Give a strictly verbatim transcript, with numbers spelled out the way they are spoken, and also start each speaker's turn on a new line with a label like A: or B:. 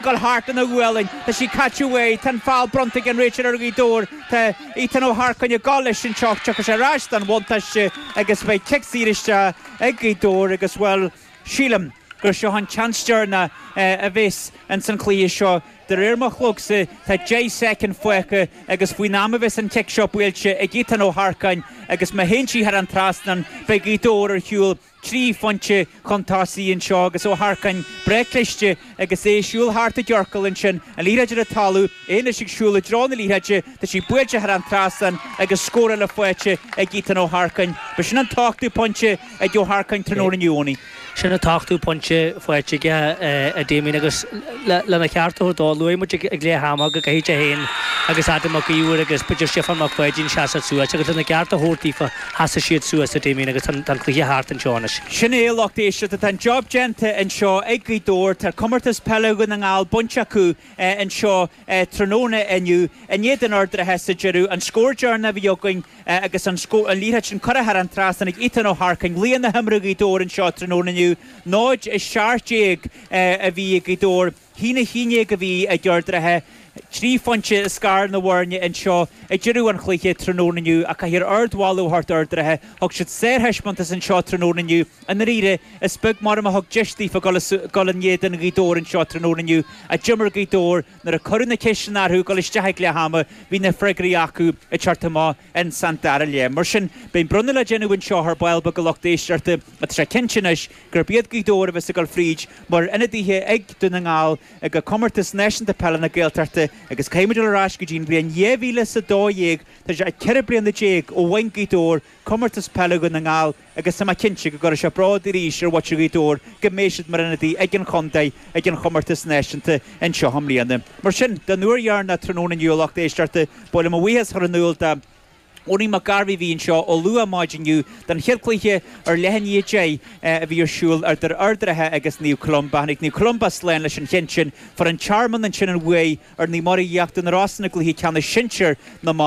A: Gabháil thart ina ghualainn, tá sí caite uaidh, tá an feall bronnta ag an réiteoir ar Ghaoth Dobhair, tá Ethan Ó hEarcáin ag gabháil leis anseo, tiocfaidh sé ar ais don bhuntáiste agus beidh cic saor isteach ag Gaoth Dobhair agus, bhuel, sílim gur seo an tseans deireanach a bheas ins an chluiche seo. De réir mo chlogsa, tá deich soicind fágtha agus faoin am a bheas an cic seo buailte ag Ethan Ó hEarcáin agus má théann sí thar an trasnán, beidh Gaoth Dobhair ar shiúl trí phointe chun tosaigh anseo agus Ó hEarcáin breá cliste agus é ag siúl thart i gciorcal ansin, an liathróid ar an talamh, é anois ag siúl i dtreo na liathróide, tá sí buailte thar an trasnán agus scór eile faighte ag Ethan Ó hEarcáin. B'shin an t-ochtú pointe ag Ó hEarcáin tráthnóna inniu, Owenie.
B: Sin an t-ochtú pointe faighte aige, a Damien, agus lena cheart a thabhairt dó, luaigh muid ag leath ama go gcaithfidh sé féin agus Adam Mac Íomhair agus b'fhéidir Stiofán Mac Pháidín seasamh suas agus lena gceart a thabhairt daofa, sheasaigh siad suas, a Damien, agus tá an cluiche thart anseo anois.
A: Sin é, a lucht éisteachta, tá an job déanta anseo ag Gaoth Dobhair, tá Comórtas Peile Dhún na nGall bainte acu anseo tráthnóna inniu in éadan Ard an Rátha sa deireadh. An scór deireanach a bhí againn agus an liathróid sin curtha thar an trasnán ag Ethan Ó hEarcáin, laoch na himeartha Ghaoth Dobhair anseo tráthnóna inniu. náid a seacht déag a bhí ag Gaoth Dobhair, a haon a haon déag a bhí ag Ard an Rátha. Trí phointe a scar na bhfoirne anseo ag deireadh an chluiche tráthnóna inniu ach caithfear ardmholadh a thabhairt d'Ard an Rátha. Thug siad sárthaispeántas anseo tráthnóna inniu. I ndáiríre, is beag maram a thug deis daofa dul in éadan Ghaoth Dobhair anseo tráthnóna inniu. Ach d'imir Gaoth Dobhair nuair a cuireadh na ceisteanna orthu dul isteach ag leath ama, bhí na freagraí acu ag teacht amach in san dara leath. Mar sin, beidh bronnadh le déanamh anseo ar ball beag a lucht éisteachta. Tá sé cinnte anois gurb iad Gaoth Dobhair a bheas ag dul fríd mar ionadaithe ag Dún na nGall ag Comórtas Náisiúnta Peile na Gaeltachta agus caithfidh muid dul ar ais go dtí an bhliain dhá mhíle is a dó dhéag, tá sé ceithre bliana déag ó bhain Gaoth Dobhair Comórtas Peile Dhún na nGall agus tá mé cinnte go gcuirfidh sé bród arís ar mhuintir Ghaoth Dobhair go mbeidh siad mar ionadaí ag an chontae ag an chomórtas náisiúnta anseo i mbliana. Mar sin, don uair dheireanach tráthnóna inniu a lucht éisteachta, ba mhaith liom mo bhuíochas a chur in iúl do Owenie Mac Gairbhí a bhí anseo ó luath maidin inniu don chéad chluiche ar leath i ndiaidh a deich a bhí ar siúl idir Ard an Rátha agus Naomh Columba. Tháinig Naomh Columba slán leis an cheann sin. Fuair an Tearmann ansin an bhuaidh ar Naomh Muire Íochtar na Rosann i gcluiche ceannais sinsir na mban.